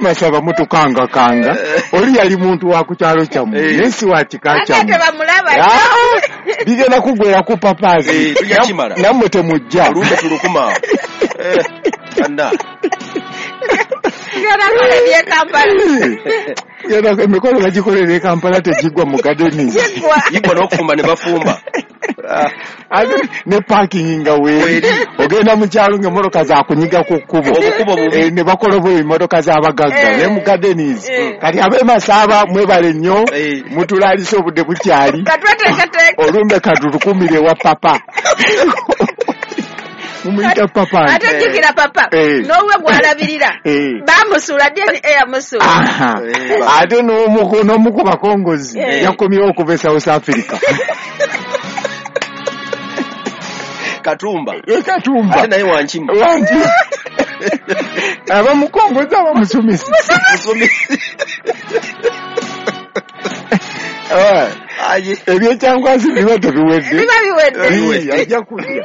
Masaba mutukangakanga. Oli yali muntu wa ku kyalo kyammwe, naye si wa kika Ate kyammwe. tebamulaba. Ah, bigenda kuggwera ku papaazi. Tujja kimala. Nammwe temujja. Olumbe tulukuma awo. Anna. Tugenda kukola eby'e Kampala. Genda emikolo bagikolera e Kampala, tegiggwa mu Gardens. Giggwa. Yigwa n'okufumba ne bafumba. Ate ne parking nga weeri. Ogenda mu kyalo ng'emmotoka zakunyiga ku kkubo. Obukubo bubi. Ne bakola bwe emmotoka z'abagagga ne mu Gardens. Kati ab'e Masaba mwebale nnyo, mutulaalise obudde bukyali. Katweteeketeeke. Olumbe katulukumire wa papa. Mumuyita papa. Ate jjukira papa n'owuwe gw'alabirira bamusuula, DNA yamusuula. Aha. Ate n'omu ku bakongozi yakomyewo okuva e South Africa. Katumba. Katumba. Ate naye wankima. Wangi. Abamukongozi, abamusumisi. Musumisi. Aye. Ebyekyankwanzi biba tebiwedde. Biba biwedde. Ajja kujja.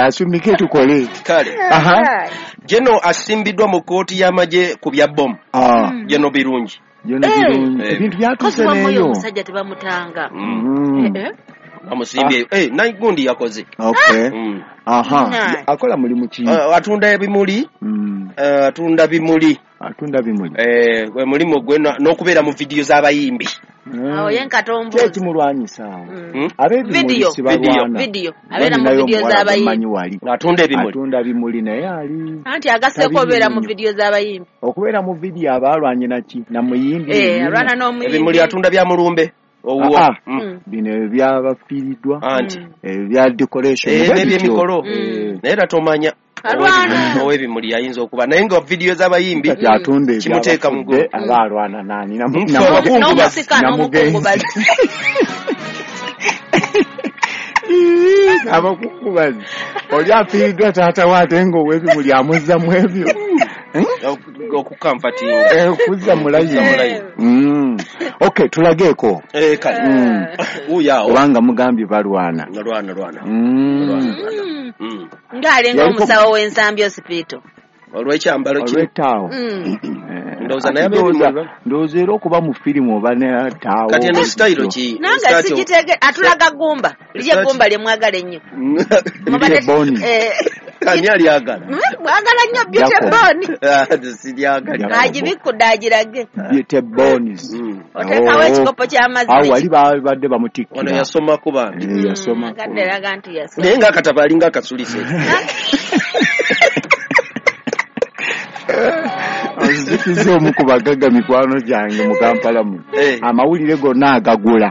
Asumike tukole. Kale. Aha. Geno asimbiddwa mu kkooti y'amagye ku bya bomu. Ah. Geno Birungi. Geno Birungi. Ebintu byatuuse Kozi wamma oyo neeyo. omusajja tebamutanga. Bamusimbye. Nagundi yakoze. Okay. Aha. Akola mulimu ki? Atunda ebimuli. Atunda bimuli. Atunda bimuli. Gwe mulimu gwe n'okubeera mu vidiyo z'abayimbi. Awo ye nkatombuzi. Ki ekimulwanyisa awo? Ab'ebimuli Video. si balwana. Video. Abeera mu Ninayo vidiyo omuwala z'abayimbi. gwe mmanyi wali. Atunda ebimuli. Atunda bimuli naye ali Anti agaseeko obeera mu vidiyo z'abayimbi. Okubeera mu vidiyo aba alwanye naki? Namuyimbi yennyini. Alwana n'omuyimbi. Ebimuli atunda bya mulumbe. Owuwo. Ah, ah. Bino ebyabafiiriddwa, Anti. Ebya decoration bwe bityo. N'ebyemikolo. Naye era tomanya. Alwana. Ow'ebimuli ayinza okuba naye nga vidiyo z'abayimbi Kati atunda kimuteeka mu ebyabafudde aba alwana nani? Abakungubazi. N'omusika Namugenzi. n'omukungubazi. Abakungubazi, oli afiiriddwa taata we, ate nga ow'ebimuli amuzza mu ebyo. Okukanfatinga. Okuzza mu layini. Mulayini. Okay, tulageeko. Kale. Wuuyo awo. Kubanga mugambye balwana. Lwana lwana. Ng'alinga omusawo w'ensambi osipito. Olw'ekyambalo kino. Olw'ettaawo. Ndowooza naye Ate ab'ebimuli ndowooza era okuba mu firimu oba netaawo. Kati eno sitayiro ki? Nange sigitege atulaga gumba. Lye gumba lye mwagala ennyo. Beauty Boni. Ani alyagala? Mwagala nnyo Beauty Jacob. Boni. Siryagala. Agibikudde agirage. Beauty Bones. Oteekawo ekikopo ky'amazzi. Awo wali babadde bamutikkira. Ono yasomako bambi. Yasomako. Kadde eraga nti yasoma. Naye ng'akatabo alinga akasulise. Nzikiza omu ku bagagga mikwano gyange mu Kampala muno. Amawulire gonna agagula.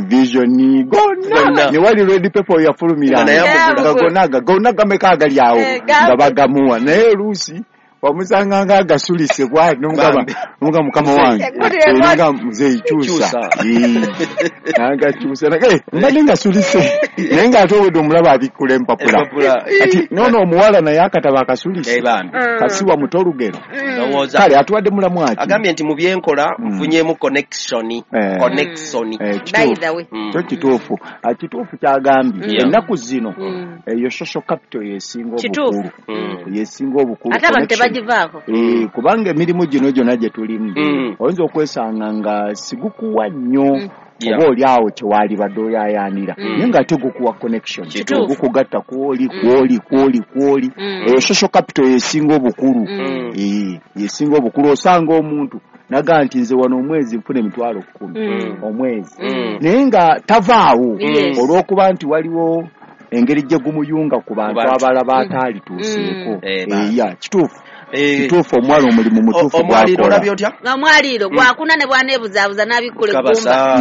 Vision gonna. Gonna. Ne wali Red Pepper yafulumira. Nga naye amugula. Nga gonna gonna gameka agali awo Eh, nga bagamuwa. Naye oluusi wamusanga nga agasulise bw'ati n'omugamba Bambi. n'omugamba mukama wange. Eggulire Nga muzeeyi kyusa. Kyusa. N'agakyusa. Mbadde ngasulise. Naye ng'ate obwedde omulaba abikkula empapula. Empapula. Kati noono omuwala naye akatabo akasulise. Bambi. Kasiwa muto olugero. Ndowooza. Kale atuwadde mulamu aki? Agambye nti mu byenkola nfunyeemu connection. Connection. By the way. Kyo kituufu. Ah, kituufu kyagambye. Ennaku zino eyo social capital yesinga Kituufu. obukulu. Yesinga obukulu. Ate abantu Connection. tebagivaako. Kubanga emirimu gino gyonna gye tulimu oyinza okwesanga nga sigukuwa nnyo oba oli awo kyewalibadde oyayaanira, naye ng'ate gukuwa connection. Kituufu. Gukugatta kwoli kwoli kwoli kwoli. Eyo social capital yesinga obukulu. Yesinga obukulu. Osanga omuntu naga nti nze wano omwezi nfuna 10,000 omwezi, naye nga tavaawo olw'okuba nti waliwo engeri gye gumuyunga ku bantu bantu. abalala bataalituuseeko. Bambi. Ya, kituufu. Kituufu, omuwala omulimu mutuufu Omwaliiro gwakola. olabye otya? Omwaliiro gwakuna ne bwaneebuzaabuza n'abikkula eggumba. Kabasa.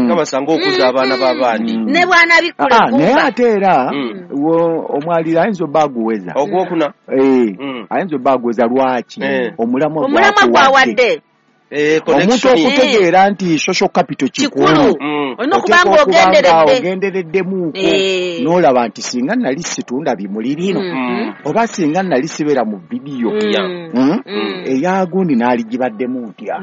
Kabasa ng'okuza abaana b'abandi. Ne bw'anaabikkula Ah, naye eggumba. ate era omwaliiro ayinza obba aguweza. Ogwokuna. Ayinza obba aguweza. Lwaki? Omulamwa Omulamwa gwakuwadde. gwawadde. Omuntu okutegeera nti social capital kikulu, olina okuba nga ogendereddemuuko n'olaba nti singa nali situnda bimuli bino, oba singa nali sibeera mu vidiyo eyagundi n'aligibaddemu ntya,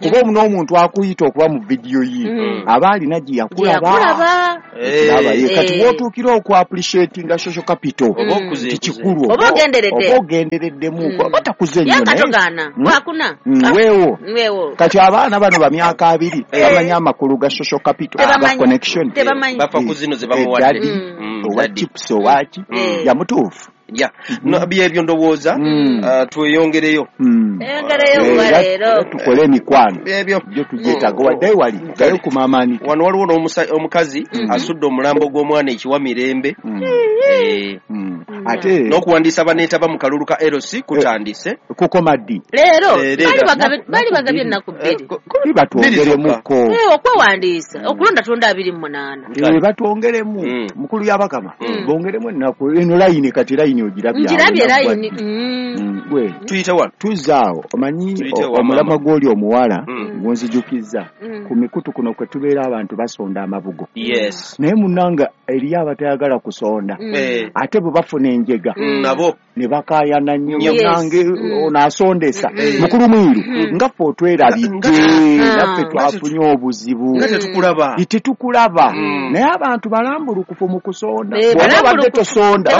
kuba n'omuntu akuyita okuba mu vidiyo ye aba alina gye yakulaba. Kati w'otuukira oku appreciatinga social capital nti kikulu, oba ogendereddemuuko, oba takuze nnyo weewo. Kati abaana bano ba myaka 2 bamanyi amakulu ga social capital, ga connection, bafa ku zino ze bamuwadde, owa chips owaki yamutuufu. No, byebyo ndowooza tweyongereyo tukole emikwano byo tugyetaaga wadde wali gayo ku maamaani. Wano waliwo n'omukazi asudde omulambo gw'omwana ekiwa mirembe, ate n'okuwandiisa baneetaba mu kalulu ka LC kutandise. Kukoma ddi? Leero bali bagabye ennaku 2 batwongeremuko okwewandiisa okulonda tonda 28 batwongeremu mukulu yabakama bongeremu ennaku eno layini. Kati layini ogirabye layini gwe tuyite wano tuzaawo. Omanyi omulamwa gw'oli omuwala gunzijukizza ku mikutu kuno kwe tubeera abantu basonda amabugo. Naye munnanga eriyo abatayagala kusonda, ate bwe bafuna enjega nabo ne bakaayana nnyo, nange ono asondesa mukulu mwiru nga ffe otwerabidde, naffe twafunye obuzibu nga tetukulaba. Naye abantu balambulukufu mu kusonda, bw'oba badde tosonda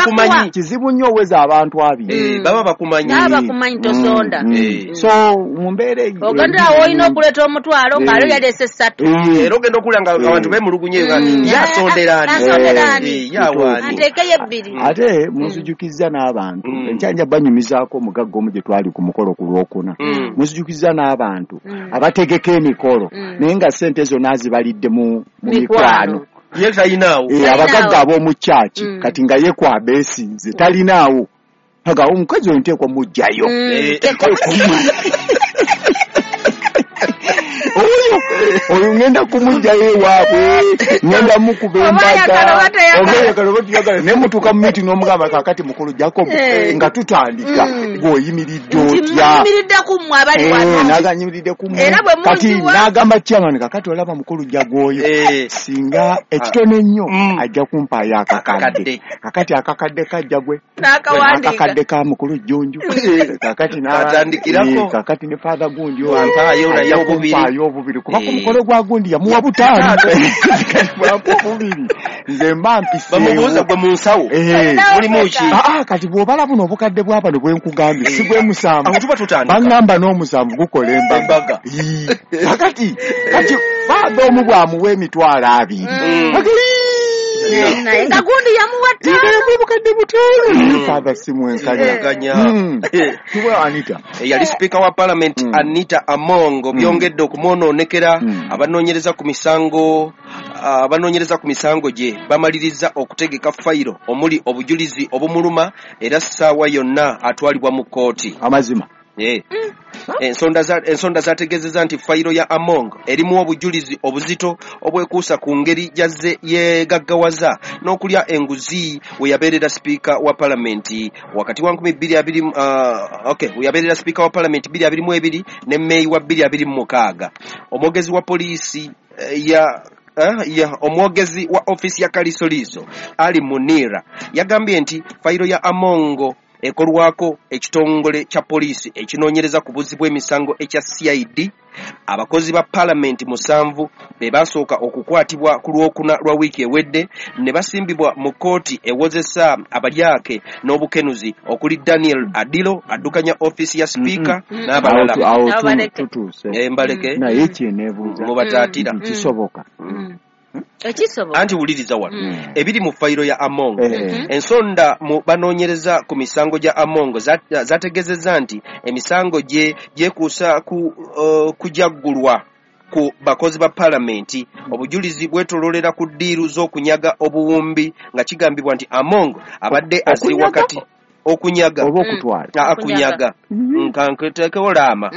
kizibu nnyo oweza abantu 2 baba bakumanyi, bakumanyi tosonda. So mu mbeera eyo ogenda awo olina okuleeta omutwalo ng'alo yaleese 3, era ogenda okulya nga abantu beemulugunye yasonderaani yawaani ateekeyo 2. Ate munzijukizza n'abantu enkyanja banyumizaako omugagga omu gye twali ku mukolo ku Lwokuna, munzijukizza n'abantu abategeka emikolo naye nga ssente ezo naazibalidde mu mikwano. Ye talinaawo. Abagagga ab'omu kyaki kati nga ye kwabeesinze talinaawo, aga omukazi oyo nteekwa mujjayo oyo ngenda kumujjayo ewaabwe, ngenda mukuba embaga, naye mutuuka mu miti n'omugamba kaakati mukulu Jacob nga tutandika gw'oyimiridde otya, naganyimiridde ku mmwe. Kati n'agamba chairman kakati olaba mukulu Jago oyo singa ekitone ennyo ajja kumpaayo akakadde, kakati akakadde kajja gwe akakadde ka mukulu Jjunju, kakati n'atandikirako, kakati ne father gundi oyo kumpaayo obubiri, kuba ku mukolo gwa gundi yamuwa 5 bwampa obubiri nze mba mpiseewo. Bamubuuza gwe mu nsawo mulimu ki? Kati bw'obala buno obukadde bwa bano bwe nkugambye si bwe musanvu, baŋŋamba n'omusanvu gukola embaga. Kakati father omu bw'amuwa emitwalo 2 naye nga gundi yamuwa 5 obukadde 5. Father si mwenkanya. Tuwe Anita eyali sipiika wa parliament Anita Among byongedde okumwonoonekera. Abanoonyereza ku misango gye bamaliriza okutegeka fayiro omuli obujulizi obumuluma, era ssaawa yonna atwalibwa mu kkooti. Amazima. Ensonda zategeezezza nti fayiro ya Among erimu obujulizi obuzito obwekuusa ku ngeri gy'azze yeegaggawaza n'okulya enguzi we yabeerera sipiika wa palamenti wakati wa 2020, we yabeerera sipiika wa palamenti 2022 ne Meeyi wa 2026. Omwogezi wa poliisi omwogezi wa ofiisi ya Kalisoliiso Ali Munira yagambye nti fayiro ya Amongo ekolwako ekitongole kya poliisi ekinoonyereza ku buzzi bw'emisango ekya CID. Abakozi ba palamenti 7 be basooka okukwatibwa ku Lwokuna lwa wiiki ewedde ne basimbibwa mu kkooti ewozesa abalyake n'obukenuzi okuli Daniel Adilo addukanya ofiisi ya sipiika n'abalala. Mbaleke naye kyeneebuuza mubataatira kisoboka Anti wuliriza wano ebiri mu fayiro ya Among. Ensonda mu banoonyereza ku misango gya Among zategeezezza nti emisango gye gyekuusa ku kujaggulwa ku bakozi ba palamenti. Obujulizi bwetololera ku ddiiru z'okunyaga obuwumbi nga kigambibwa nti Among abadde aziri wakati Okunyaga. Oba okutwala. Akunyaga. Nkanketekewo laama.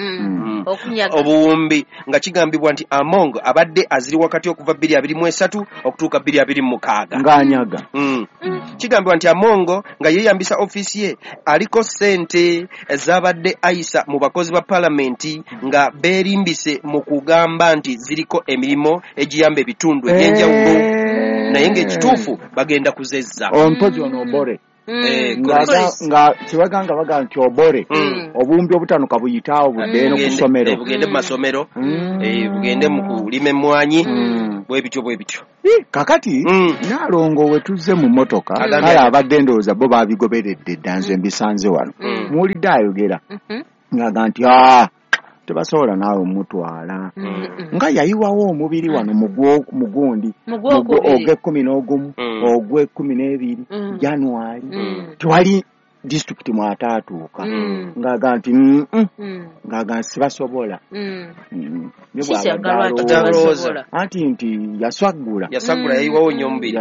Okunyaga. Obuwumbi nga kigambibwa nti Among abadde aziri wakati okuva 2023 okutuuka 2026. Ng'anyaga. Kigambibwa nti Among nga yeeyambisa ofiisi ye aliko ssente z'abadde ayisa mu bakozi ba paalamenti nga beerimbise mu kugamba nti ziriko emirimu egiyamba ebitundu ebyenjawulo naye ng'ekituufu bagenda kuzezza. Ompozi ono Obore. Nga kibaganga baga nti Obore obuwumbi obutaano kabuyitaawo budde eno ku ssomero. Bugende mu masomero, bugende mu kulima emmwanyi, bwe bityo bwe bityo. Kakati Nalongo we tuzze mu mmotoka kale abadde ndowooza bo babigoberedde dda nze mbisanze wano. Muwulidde ayogera ng'aga nti tebasobola naawe mutwala nga yayiwawo omubiri wano mugundi ogw'ekkumi n'ogumu ogw'ekkumi n'ebiri January tewali disitulikiti mwataatuuka ng'aga nti ng'aga sibasobola. Anti nti yasaggula yayiwawo nnyo omubiri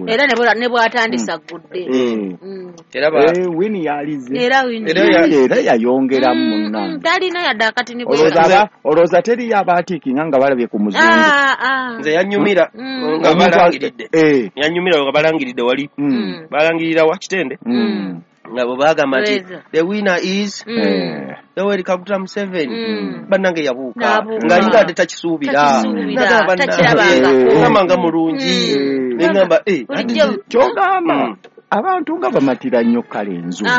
era ne bw'atandisagudde Wini yalize era yayongeramu munnange talina yadde akatini. Olowooza teriyo abaatiikinga nga balabye ku muzungu. Nze yanyumira nga balangiridde yanyumira nga balangiridde wali balangirira wa Kitende nga bwe bagamba nti the winner is Yoweri Kaguta Museveni. Bannange yabuuka ng'alinga ate takisuubira nagamba nga mulungi nengamba kyogamba abantu nga bamatira nnyo kale enzungu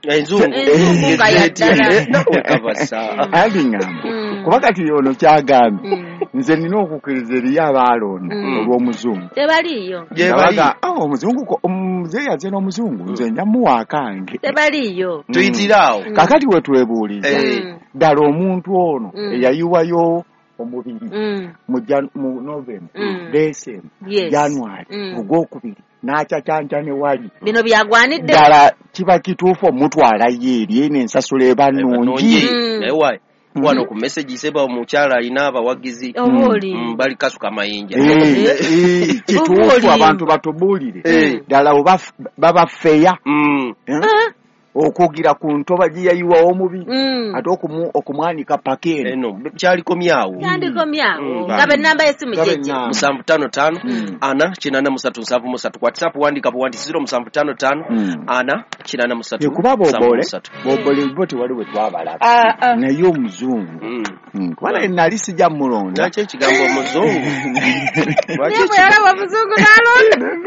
enzungu alingamba kuba kati ono kyagambye nze nina okukkiriza eriyo abaalonda olw'omuzungu tebaliiyo. Omuzungu omuzeeyi aze n'omuzungu nze nja muwa akange tebaliiyo tuyitiraawo. Kakati we twebuuliza ddala omuntu ono eyayiwayo omubiri mu November, December, January ogwokubiri n'acacanca ne wali bino byagwanidde ddala kiba kituufu omutwalayo eri eno ensasula eba nnungi. Naye wano ku message seba omukyala alina abawagizi bali kasuka mayinja kituufu abantu batubuulire ddala baba feya okugira ku ntoba gye yayiwawo omubiri ate okumwanika paka eno kyalikomyawo kyandikomyawo nga ennamba y'essimu gyegye 755 4 83 73 WhatsApp wandika buwandi 0755 4 83 kuba boobole bo tewali we twabalaba naye omuzungu kuba naye nali sijja mulonda. Lwaki ekigambo omuzungu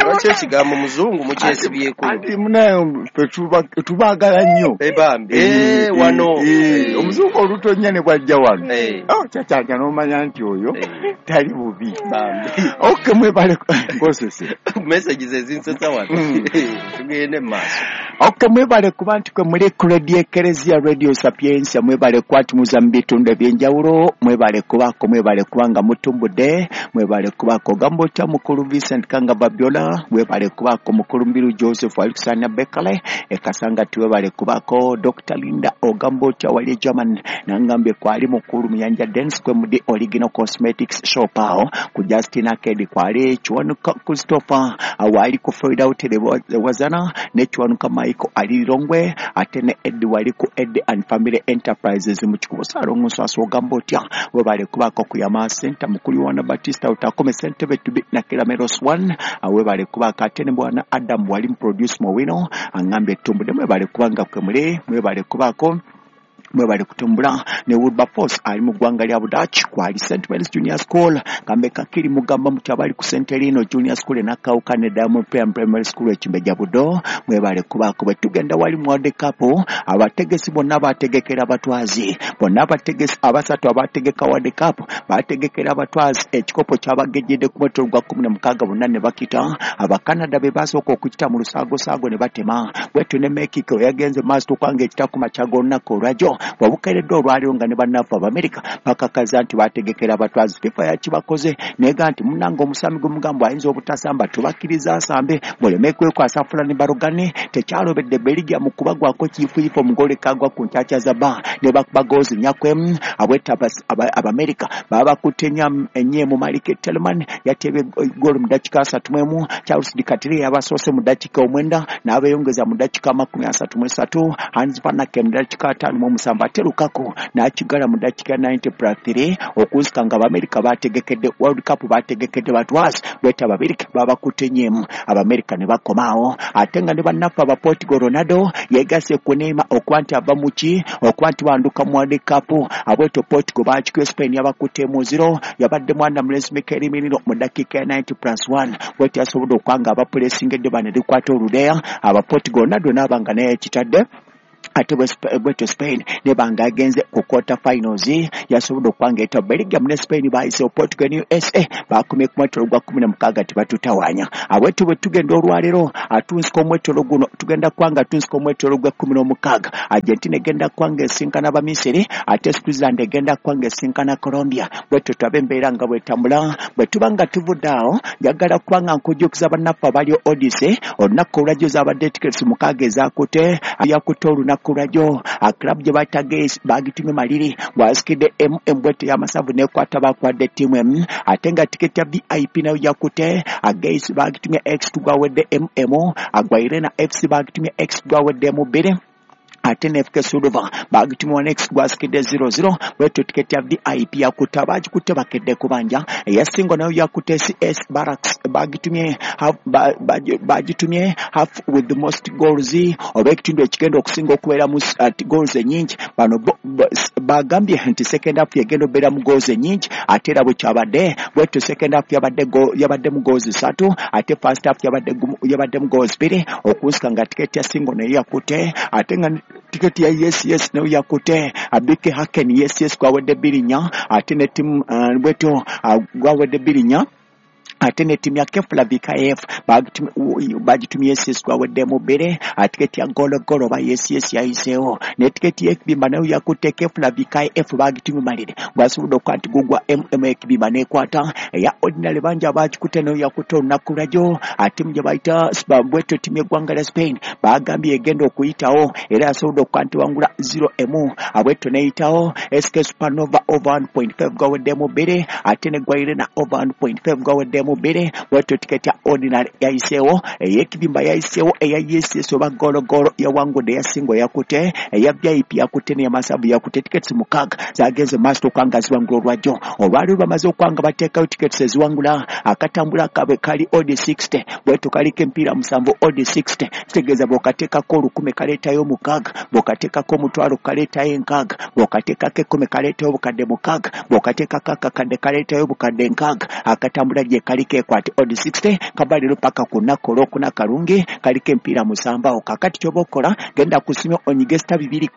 lwaki ekigambo muzungu mukyesibyeko? Anti munaye ffe tubaagala nnyo bambi wano omuzungu olutonnya ne bwajja wano kyakyanja n'omanya nti oyo tali bubi. Okay, mwebale ngosese messages ezinsesa wano tugende mu maaso. Okay, mwebale kuba nti kwe muli ku Radio Ekereziya Radio Sapientia, mwebale kwatumuza mu bitundu ebyenjawulo, mwebale kubaako, mwebale kubanga mutumbudde, mwebale kubaako gamba otya mukulu Vincent Kanga Babiola, mwebale kubaako mukulu Mbiru Joseph Alexander Bekale ekasanga tiwebale kubaako Dr. Linda ogamba otya wali German nangambye kwali mukulu Muyanja Dance kwe mudi Original Cosmetics Shop awo ku Justin Arcade kwali Kiwanuka Christopher awali ku Florida Hotel Wazana ne Kiwanuka Michael ali Lilongwe ate ne Ed wali ku Ed and Family Enterprises mu Kikubo Ssalongo Nswaswa ogamba otya webale kubaako ku Yama Center mukulu Yohana Batista utakome Ssentebe tubi na Kirameros 1 webale kubaako ate ne bwana Adam wali produce Mowino angambye tumbudde mwebale kubanga kwe muli mwebale kubaako mwebale kutumbula ne Wilberforce ali mu ggwanga lya Budaaki kwali St Mary's Junior School kambe kakiri mugamba muti abali ku St Elino Junior School nakawuka ne Diamond Primary School ekimbejja Budo mwebale kubaako. Bwe tugenda wali mu World Cup abategesi bonna bategekera abatwazi bonna abategesi abasatu abategeka World Cup bategekera abatwazi ekikopo kyabagejjedde ku mwetolo gwa 16 bonna ne bakita. Abakanada be basooka okukita mu lusaagosaago ne batema bwetyo ne Mexico yagenze maaso tukanga ekita ku makya g'olunaku olwajjo olwaleero. Bwebukeeredde olwaleero nga ne bannaffe Abamerika bakakaza nti bategekera abatwazi. FIFA yakibakoze nega nti munnange omusambi gw'omugambo ayinza obutasamba, tubakkiriza asambe muleme kwekwasa Fulani Barogane. Tekyalobedde Belgium mu kubagwako kiyifuyifu omugole kagwa ku nkyakya za ba ne bakuba goozi nyakwemu. Abweta Abamerika babakutte ennye mu Malik Tillman yatebye goolo mu ddakiika 31, Charles Dikatire yabasoose mu ddakiika 9 n'abeeyongeza mu ddakiika 33, Hans Van Aken mu ddakiika 57, ate Lukaku n'akigala mu ddakiika 90+3 okunsika nga Abamerika bategekedde World Cup, bategekedde batwazi. Bweta Abamerika babakutte nnyemu, Abamerika ne bakomaawo. Ate nga ne bannaffe aba Portugal, Ronaldo yeegasse ku Neymar okuba nti ava mu ki okuba nti banduka mu World Cup. Abweto Portugal bakikuye Spain yabakutte mu 0, yabadde mwana mulenzi Mikel Merino mu ddakiika ya 90+1. Bwetyo yasobodde okuba nga abapuleesingedde bano erikwata oludeya aba Portugal, Ronaldo n'aba nga naye yakitadde. Ate bwetyo Spain nebanga agenze ku quarter finals, yasobodde okuba nga eta Belgium ne Spain bayiseewo. Portugal ne USA bakomye ku mwetolo gwa 16 tebatutawaanya. Abwetyo bwe tugenda olwaleero atunsika omwetolo guno, tugenda kuba nga tunsika omwetolo gwa 16. Argentina egenda kuba nga esinkana Abamisiri, ate Switzerland egenda kuba nga esinkana Colombia. Bwetyo tulabe embeera nga bwetambula. Bwe tuba nga tuvudde awo, njagala kuba nga nkujjukiza bannaffe abali Odyssey olunaku olwajjo zabadde tickets 6 ezakutte yakutte olunaku lwajjo. Club gye bayita Gas bagitumye Maliri bw'asikidde MM bwetyo y'amasavu n'ekwata bakwadde ttiimu emu. Ate nga tiketi ya VIP nayo yakutte Gas bagitumye X gwawedde MM, Agwairena FC bagitumye X gwawedde mu 2, ate ne FK Suduva bagitumye 1X gwasikidde 0-0. Bwetyo tiketi ya VIP yakutte abagikutte bakedde kubanja. Eyasingo nayo yakutte CS Barracks bagitumye bagitumye half with the most goals, oba ekitundu ekigenda okusinga okubeera mu goals ennyingi. Bano bagambye nti second half yegenda okubeera mu goals ennyingi, ate era bwe kyabadde. Bwetyo second half yabadde mu goals 3, ate first half yabadde mu goals 2, okunsika nga tiketi ya singo nayo yakutte. Ate nga tiketi ya yes yes nayo yakutte Abike Haken yes yes gwawedde 2-4, ate ne ttiimu bwetyo gwawedde 2-4. Ate ne ttiimu ya Keflavik AF bagitumye yes yes gwaweddemu 2. Tiketi ya gologolo oba yes yes yayiseewo. Ne tiketi y'ekibimba nayo yakutte Keflavik AF bagitumye Malire gwasobodde okuba nti gugwa MM ekibimba n'ekwata. Eya ordinary bangi abagikutte nayo yakutte olunaku lwajjo. Ate mu gye bayita bwetyo ttiimu y'eggwanga lya Spain bagambye egenda okuyitawo, era yasobodde okuba nti wangula 0-1, abwetyo n'eyitawo. SK Supernova over 1.5 gwaweddemu 2, ate ne Gwairena over 1.5 gwaweddemu 2. Bwetyo tiketi ya ordinary yayiseewo, ey'ekibimba yayiseewo, eya yes oba gologolo yawangudde, eyasingo yakutte, eya VIP yakutte, n'eyamasavu yakutte. Tiketi 6 zagenze maaso okuba nga ziwangula olwajjo. Olwaleero bamaze okuba nga bateekayo tiketi eziwangula. Akatambula kaabwe kali odd 60, bwetyo kaliko emipiira 7 odd 60, kitegeeza bw'okateekako 1000 kaleetayo 6, bw'okateekako 500 kaleetayo 6, bw'okateekako 10 kaleetayo obukadde 6, bw'okateekako akakadde kaleetayo obukadde 6. Akatambula gye kaliko ekwate odd 60 kabaliro paka ku lunaku olwokuna kalungi, kaliko emipiira 7 awo. Kakati ky'oba okola, genda ku ssimu onyige *210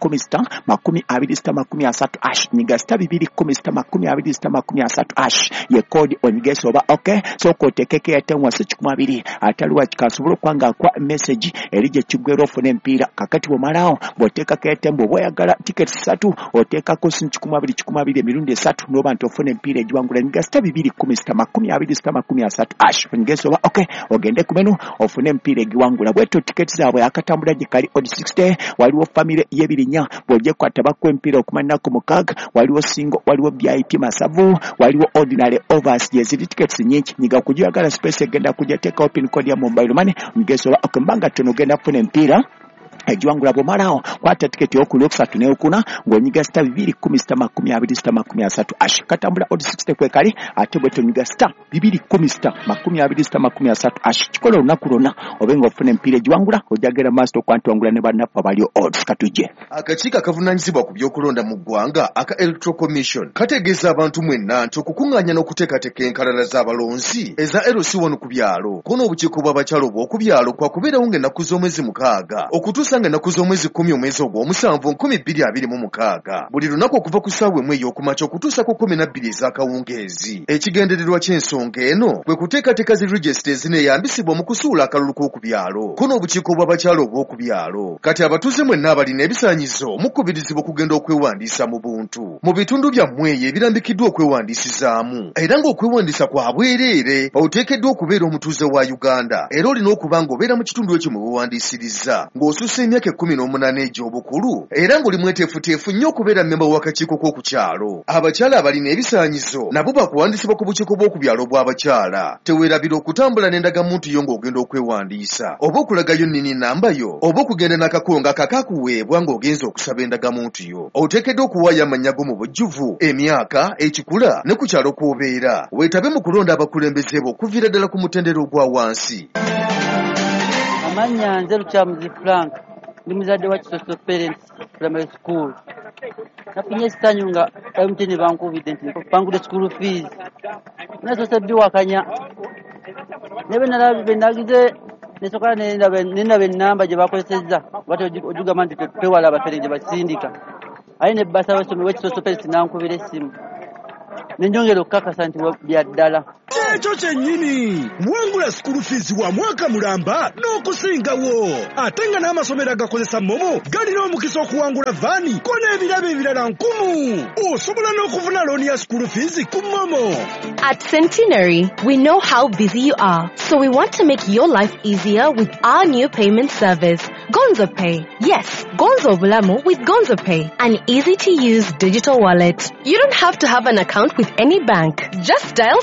*20*30 hash, nyiga *210 *20*30 hash ye code onyigese oba okay. Sooka oteekeko airtime wansi 20 ataliwa kikasobola okuba nga akwa message eri gye kiggwera ofune emipiira. Kakati bw'omalaawo bw'oteekako airtime, bw'oba oyagala tiketi 3 oteekako simu 20 20 emirundi 3 n'oba nti ofuna emipiira egiwangula. Nyiga *210 *20*30 hash onyigese oba okay, ogende ku menu ofune emipiira egiwangula. Bwetyo tiketi zaabwe akatambula gye kali odd 60. Waliwo famire y'ebirinya bw'ogyekwata bakuwa emipiira okumala ennaku 6, waliwo singo, waliwo VIP masavu, waliwo ordinary overs, gye ziri tickets nnyingi. Nyiga kugyoyagala space egenda kujja, teekawo pin code ya mobile money onyigese oba okay, mbanga ttono ogenda kufuna emipiira egiwangula. Bw'omalaawo kwata tiketi ey'okuli okusatu n'okuna ng'onyiga *210 *20*30 hash. Katambula odd 60 kwekali, ate bwetyo onyiga *210 *20*30 hash. Kikola olunaku lwonna obe ng'ofuna emipiira egiwangula, ojagera maaso okuba nti wangula ne bannaffe abali odds. Katujje. Akakiiko akavunaanyizibwa ku by'okulonda mu ggwanga aka Electoral Commission kategeeza abantu mwenna nti okukuŋŋaanya n'okuteekateeka enkalala z'abalonzi eza LC1 ku byalo ko n'obukiiko bw'abakyala obw'oku byalo kwakubeerawo ng'ennaku z'omwezi 6 okutuusa Okutuusa nga ennaku z'omwezi 10 omwezi ogw'omusanvu 2026, buli lunaku okuva ku ssaawa 1 ey'okumakya okutuusa ku 12 ez'akawungeezi. Ekigendererwa ky'ensonga eno kwe kuteekateeka zi regisita ezineeyambisibwa mu kusuula akalulu k'oku byalo ko n'obukiiko bw'abakyala obw'oku byalo. Kati abatuuze mwenna abalina ebisaanyizo mukubirizibwa okugenda okwewandiisa mu buntu mu bitundu byammwe eyo ebirambikiddwa okwewandiisizaamu, era ng'okwewandiisa kwa bwereere. Oteekeddwa okubeera omutuuze wa Uganda era olina okuba ng'obeera mu kitundu ekyo mwe weewandiisiriza, ng'osussa emyaka 18 egy'obukulu, era ng'oli mweteefuteefu nnyo okubeera mmemba w'akakiiko k'oku kyalo. Abakyala abalina ebisaanyizo nabo bakuwandiisibwa ku bukiiko bw'oku byalo bw'abakyala. Teweerabira okutambula n'endagamuntu yo ng'ogenda okwewandiisa, oba okulagayo nnini namba yo, oba okugenda n'akakongo akakakuweebwa ng'ogenze okusaba endagamuntu yo. Oteekeddwa okuwaayo amannya go mu bujjuvu, emyaka, ekikula ne ku kyalo kw'obeera. Weetabe mu kulonda abakulembeze bo okuviira ddala ku mutendera ogwa wansi. Amannya nze Lukyamuzi Frank, ndi muzadde wa Kisoso Parents Primary School. Nafunye essanyu nga MTN bankubidde nti bangudde school fees. Nasoose biwakanya naye bwe nagize nesooka nendaba ennamba gye bakozesezza, bati ogigamba nti twewala abafere gye basindika. Aye ne basa w'essomero w'Ekisoso Parents n'ankubira essimu, ne njongera okukakasa nti bya ddala. Ekyo kyennyini, wangula school fees wa mwaka mulamba n'okusingawo, ate nga n'amasomero agakozesa MoMo galina omukisa okuwangula vaani ko n'ebirabo ebirala nkumu. Osobola n'okufuna looni ya school fees ku MoMo. At Centenary, we know how busy you are, so we want to make your life easier with our new payment service, Gonzo Pay. Yes, Gonzo Bulamu with Gonzo Pay, an easy-to-use digital wallet. You don't have to have an account with any bank. Just dial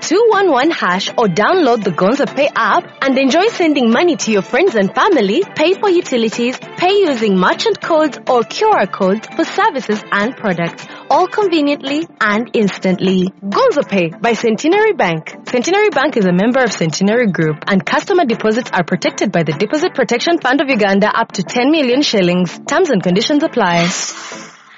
*211# or download the Gonzo Pay app and enjoy sending money to your friends and family, pay for utilities, pay using merchant codes or QR codes for services and products, all conveniently and instantly. Gonzo Pay by Centenary Bank. Centenary Bank is a member of Centenary Group, and customer deposits are protected by the Deposit Protection Fund of Uganda up to 10 million shillings. Terms and conditions apply.